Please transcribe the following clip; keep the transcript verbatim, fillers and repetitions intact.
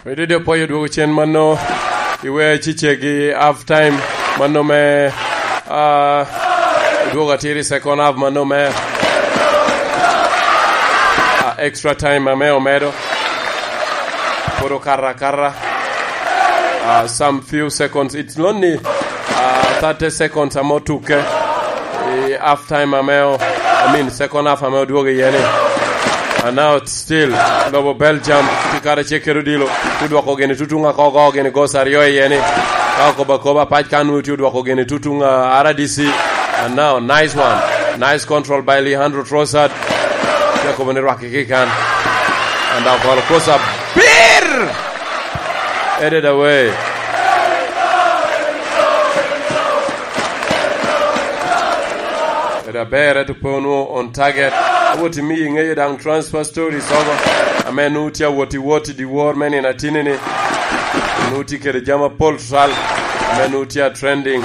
Bedo de pwoyo dwogo cen mano, iwe cicegi half time mano me, ah, dwogo atiri second half mano me, ah, extra time ame omedo. Pwod okato akata. Ah, some few seconds. It's only, ah, thirty seconds ame otukke. I half time ame o-, I mean, second half ame odwogo iye ni. And now it's still lobo Belgium tye kara cek kede odilo. Tye odwoko gini tutuŋ akogo gini goals aryo iye ni. Ka okobo akoba pac kan nwoŋo tye odwoko gini tutuŋ, ah, R D C. And now, nice one. Nice control by Leandro Trossard. Tye akobo ni rwaki ki kan. And now ball cross up. Bir! Headed away. Eda ber, eto pe onwoŋo on target. Awot imiyo iŋeyo daŋ transfer stories oko. Ame nu tye awot i wot i dyewor me nino atini ni. Nu tye kede jami apol tutwal. Ame nu tye a trending.